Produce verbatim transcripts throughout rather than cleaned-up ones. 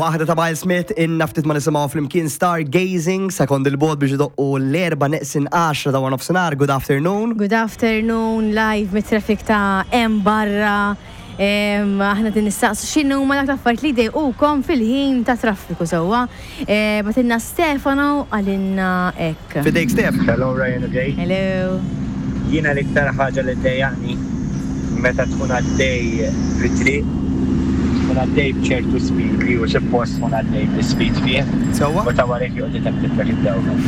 Waħda ta' Miles Smith, inna ftit ma nisimgħu flimkien Stargazing, sekond il-bogħod biex idoqqu l-erba neqsin għaxra ta' nofsinhar. Good afternoon. Good afternoon, live mit-traffic ta' hemm barra. Em, Aħna din nistaqsu x'inhu ma dak l-affarijiet li jdejqukom fil-ħin ta' traffiku sewwa. Eh, Bagħtilna Stefano qalilna hekk. Fidejk, Stef. Hello, Ryan u Jay. Hello. Jiena l-iktar ħaġa li ddejjaqni meta tkun għaddej fit-triq, tkun għaddej b'ċertu speed li hu suppost tkun għaddej bl-speed fih. Sewwa? U ta' warek joqgħod iteptiplek id-dawra.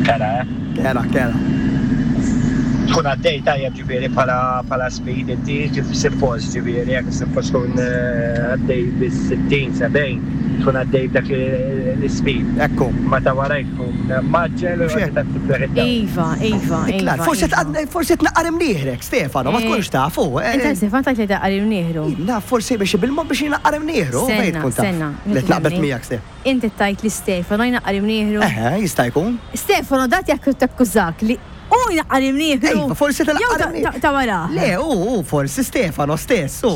Kera, eh? Kera, kera. Tkun għaddej tajjeb, ġifieri bħala bħala speed inti kif suppost, ġifieri jekk suppost tkun eh, għaddej bis-sittin, sebgħin, tkun għaddej b'dak l-speed. Ekku. Ma ta' warajk tkun mgħaġġel u Xek. joqgħod iteptiplek id-dawra. Iva, Iva, Klar, Iva. forsi Iva. tqad- forsi tnaqqar imnieħrek, Stefano, ma Eh, tkunx tafu. eh, Inta, Stefan, tajt li daqqar imnieħru. Na, forsi biex bil-mod biex jnaqqar imnieħru. Senna, fejn tkun taf. senna. Li tnaqbet miegħek, Stef. Inti tajt li Stefano jnaqqar imnieħru. Eħe, jista' jkun. Stefano dat jekk takkużak li u jnaqqar imnieħru. Iva, forsi Jew tal-aqqar ta- ta- ta' wara. Le, u, u, forsi Stefano stess, u.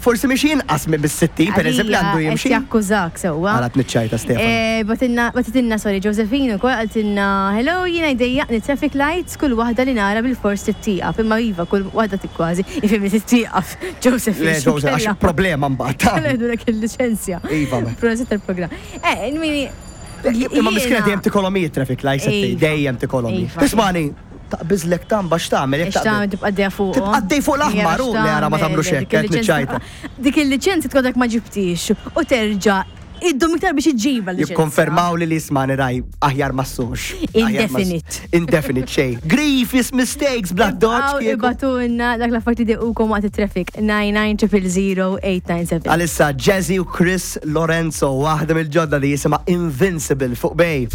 Forsi miex jinqas minn bis-sittin, per eżempju, għandu Għalija, jimxi. qed jakkużak sewwa. Għala tniċċajta, Stefano. Eh, Bagħtilna, bagħtilna, sorry, Josephine ukoll qaltilna, "Hello, jiena jdejjaqni traffic lights, kull waħda li nara bil-fors tittieqaf." Imma iva, kull waħda tikkważi, ifhimni, tittieqaf. Josephine. Le, Joseph, għax problema mbagħad. ta' Kella jgħidulek il-liċenzja. Iva, me. Prosit tal-programm. Eh, mini. Imma miskina dejjem tikolomi traffic lights, Iva. dejjem tikolomi. Iva. Ismani, taqbiżlek tamba, x'tagħmel jekk Ix tagħmel taqbiż? tibqa' għaddejja fuq. Tibqa' għaddej fuq l-aħmar, u le, ara ma tagħmlux hekk, qed niċċajta. Dik il-liċenzja tkodek ma ġibtix u terġa' iddum iktar biex iġġiba l-liċenzja. Jikkonfermaw li li ismani raj aħjar ma ssux. Aħjar ma Indefinite. Indefinite xejn. Grievous mistakes bla Għaw doċ. ibagħtulna dak l-affarijiet li jdejqukom waqt it-traffic nine nine zero zero eight nine seven. Għalissa Jazzy u Chris Lorenzo, waħda mill-ġodda li jisimha Invincible fuq Bay.